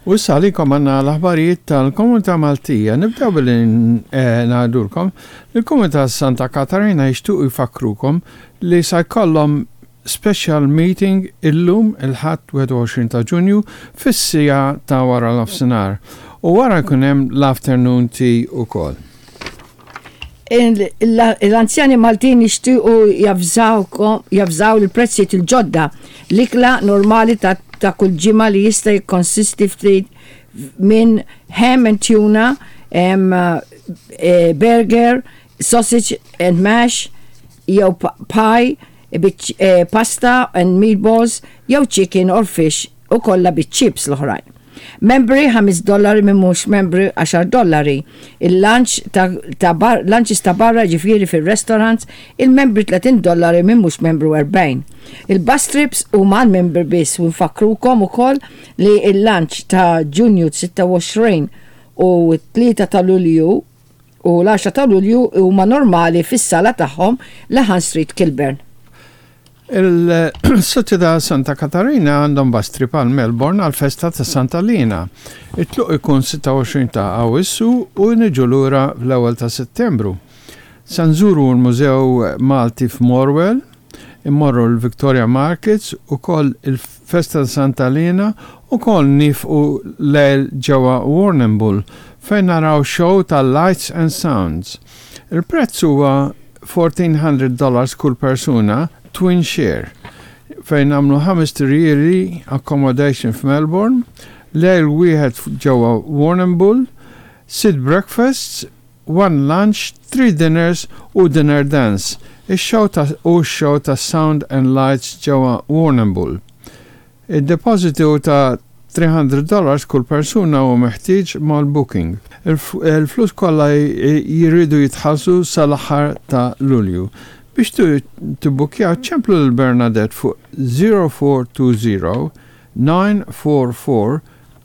U issa għalikom għandna l-aħbarijiet tal-Komunità Maltija. Nibdew billi eh, ngħidulkom li l-Komunità Santa Katarina jixtiequ jfakkrukom li sa jkollhom special meeting illum il-Ħadd 21 ta' Ġunju fis-siegħa ta' wara nofsinhar u wara jkun hemm l-afternoon tea ukoll. L-anzjani Maltin jixtiequ javżaw il-prezzijiet il-ġodda. L-ikla normali ta' kull ġimgħa li jista' jikkonsisti ftit minn ham and tuna, eh, burger, sausage and mash, jew pie, eh, pasta and meatballs, jew chicken or fish u kollha biċ-chips l-oħrajn. Membri 5 dollari min mhux membri 10 dollari. Il-lunch ta', ta bar, lunches ta' barra ġifieri fir-restaurants, il-membri 30 dollari min mhux membru 40. Il-bus trips huma għal-membri biss u nfakkrukom ukoll li il-lunch ta' Ġunju 26 u 3 ta' Lulju u l-10 ta' Lulju huma normali fis-sala tagħhom Lahan Street Kilburn. Il-Soċjetà Santa Katarina għandhom bus trip għal Melbourne għal festa ta' Santa Lina. It-tluq ikun 26 ta' Awwissu u niġu lura fl-ewwel ta' Settembru. Se nżuru l-Mużew Malti f'Morwell, immorru l-Victoria Markets, ukoll il-festa ta' Santa Lina, ukoll nifqu lejl ġewwa Warrnambool fejn naraw show ta' Lights and Sounds. Il-prezz huwa 1400 dollars kull persuna, twin share, fejn nagħmlu ħamest irjieli accommodation f'Melbourne, lejl wieħed ġewwa Warrnambool, sitt breakfasts, one lunch, three dinners u dinner dance, ix-show ta' u x-show ta' sound and lights ġewwa Warrnambool. Id-depożitu ta' 300 dollars kull persuna huwa meħtieġ mal-booking. Il-flus kollha jridu jitħallsu sal-aħħar ta' Lulju. Biex tibbukkjaw ċemplu lil Bernadette fuq 0420 944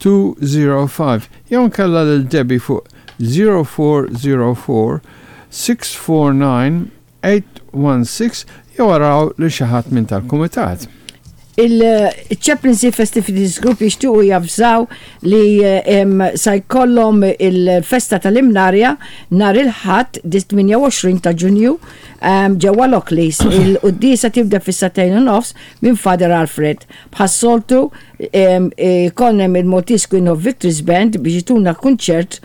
205 jew inkella lil Debbie fuq 0404 649 816 jew araw lil xi ħadd minn tal-kumitat. Il-Chaplaincy Festivities Group jixtiequ javżaw li sa jkollhom il-festa tal-Imnarja nhar il-Ħadd 28 ta' Ġunju ġewwa Lockleys. Il-quddiesa tibda fis-sagħtejn u nofs minn Father Alfred. Bħas-soltu jkollna il-Maltese Queen of Victories Band biex ituna kunċert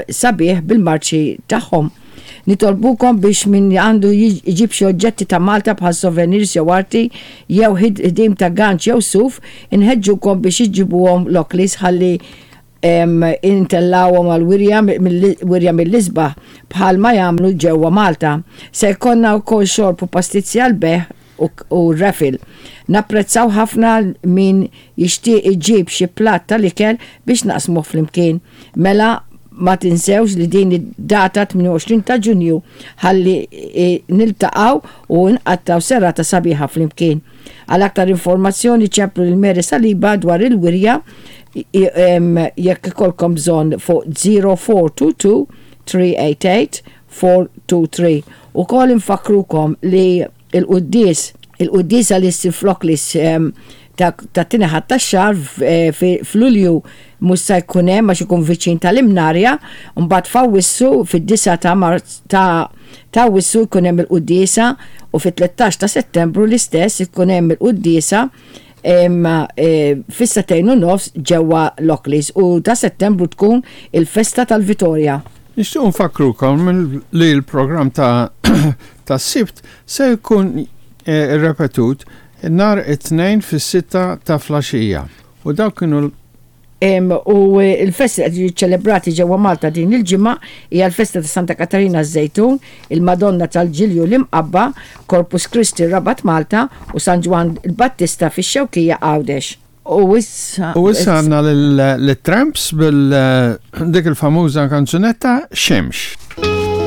sabiħ bil-marċi tagħhom. Nitolbukom biex min għandu jġib xi oġġetti ta' Malta bħal souvenirs jew arti jew ħdim ta' ganċ jew suf, inħeġġukom biex iġibuhom Lockleys ħalli intellawhom għal wirja wirja mill-isbaħ bħal ma jagħmlu ġewwa Malta. Se jkollna wkoll xorb u pastizzi għal bejgħ u raffle. Napprezzaw ħafna min jixtieq iġib xi platt tal-ikel biex naqsmuh flimkien. Mela ma tinsewx li din id-data 28 ta' Ġunju ħalli niltaqgħu u nqattgħu serata sabiħa flimkien. Għal aktar informazzjoni ċemplu lil Mary Saliba dwar il-wirja jekk ikollkom bżonn fuq 0422 388 423. Ukoll infakkrukom li il-quddies, il-quddiesa li ssir f'Lockleys tat-tieni Ħadd tax-xahar f'Lulju mhux se jkun hemm għax ikun viċin tal-Imnarja, mbagħad f'Awwissu fid-9 ta' Marz ta' ta' Awwissu jkun hemm il-quddiesa u fit-13 ta' Settembru l-istess ikun hemm il-quddiesa fis-sagħtejn u nofs ġewwa Lockleys u ta' Settembru tkun il-festa tal-Vitorja. Nixtiequ nfakkrukom li l-programm ta' tas-Sibt se jkun ripetut nhar it-Tnejn fis-sitta ta' flaxija. U dawk kienu l. U l-festi li qed jiġu ċċelebrati ġewwa Malta din il-ġimgħa hija l-festa ta' Santa Katarina ż-Żejtun, il-Madonna tal-Ġilju l-Imqabba, Corpus Christi Rabat Malta u San Ġwann il-Battista fix-Xewkija Għawdex. U issa. U issa għandna lit-Tramps bil dik il-famuża kanzunetta Xemx.